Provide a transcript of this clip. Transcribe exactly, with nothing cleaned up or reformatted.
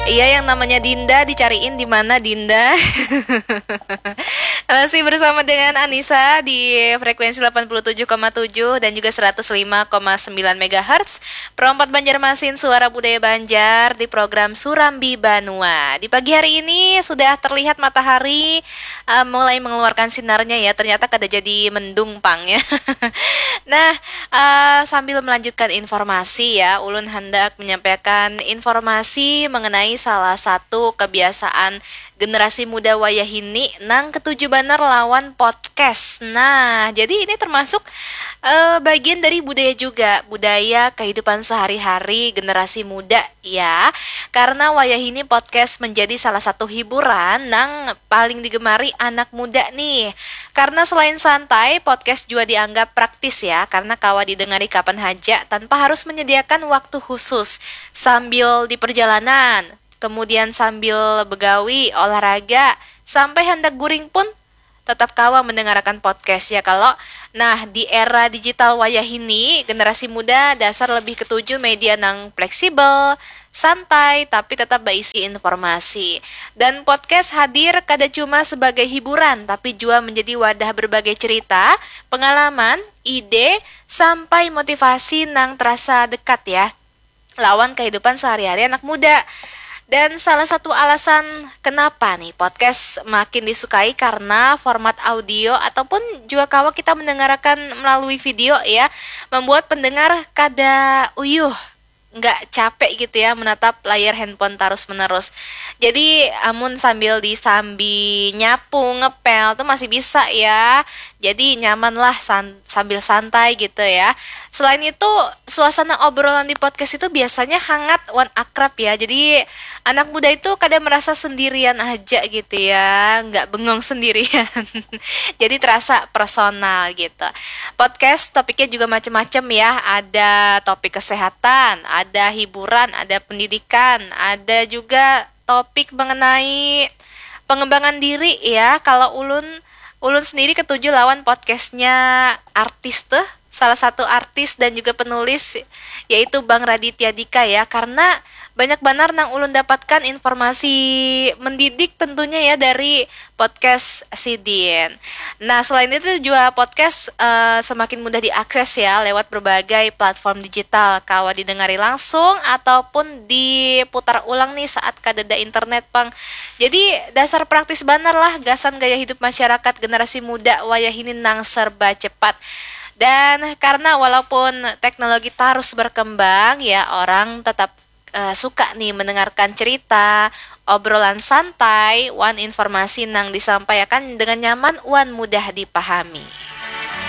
Iya, yang namanya Dinda dicariin di mana, Dinda? Masih bersama dengan Anissa di frekuensi delapan puluh tujuh koma tujuh dan juga seratus lima koma sembilan megahertz. Pro empat Banjarmasin, suara budaya Banjar, di program Surambi Banua. Di pagi hari ini sudah terlihat matahari, eh, mulai mengeluarkan sinarnya ya. Ternyata kada jadi mendung pang ya. Nah, eh, sambil melanjutkan informasi ya, ulun hendak menyampaikan informasi mengenai salah satu kebiasaan generasi muda wayahini nang ketuju banar lawan podcast. Nah, jadi ini termasuk, eh, bagian dari budaya juga, budaya kehidupan sehari-hari generasi muda ya. Karena wayahini podcast menjadi salah satu hiburan nang paling digemari anak muda nih. Karena selain santai, podcast juga dianggap praktis ya, karena kawa didengari kapan haja tanpa harus menyediakan waktu khusus. Sambil di perjalanan, kemudian sambil begawi, olahraga, sampai handak guring pun tetap kawa mendengarakan podcast ya kalo. Nah, di era digital wayahini, generasi muda dasar lebih ketuju media nang fleksibel, santai, tapi tetap baisi informasi. Dan podcast hadir kada cuma sebagai hiburan, tapi jua menjadi wadah berbagai cerita, pengalaman, ide, sampai motivasi nang terasa dekat ya lawan kehidupan sehari-hari anak muda. Dan salah satu alasan kenapa nih podcast makin disukai karena format audio ataupun juga kawa kita mendengarakan melalui video ya, membuat pendengar kada uyuh, nggak capek gitu ya menatap layar handphone tarus menerus. Jadi amun sambil disambi nyapu, ngepel tuh masih bisa ya. Jadi nyaman lah san- sambil santai gitu ya. Selain itu, suasana obrolan di podcast itu biasanya hangat wan akrab ya. Jadi anak muda itu kada merasa sendirian aja gitu ya, nggak bengong sendirian. Jadi terasa personal gitu. Podcast topiknya juga macam-macam ya. Ada topik kesehatan, ada hiburan, ada pendidikan, ada juga topik mengenai pengembangan diri ya. Kalau ulun, ulun sendiri ketuju lawan podcastnya artis tuh, salah satu artis dan juga penulis, yaitu Bang Raditya Dika ya, karena banyak banar nang ulun dapatkan informasi mendidik tentunya ya dari podcast sidin. Nah, selain itu juga podcast, eh, semakin mudah diakses ya lewat berbagai platform digital, kawa didengari langsung ataupun diputar ulang nih saat kadada internet pang. Jadi dasar praktis banar lah gasan gaya hidup masyarakat generasi muda wayahini nang serba cepat. Dan karena walaupun teknologi tarus berkembang ya, orang tetap, eh, suka nih mendengarkan cerita, obrolan santai, wan informasi nang disampaikan dengan nyaman wan mudah dipahami.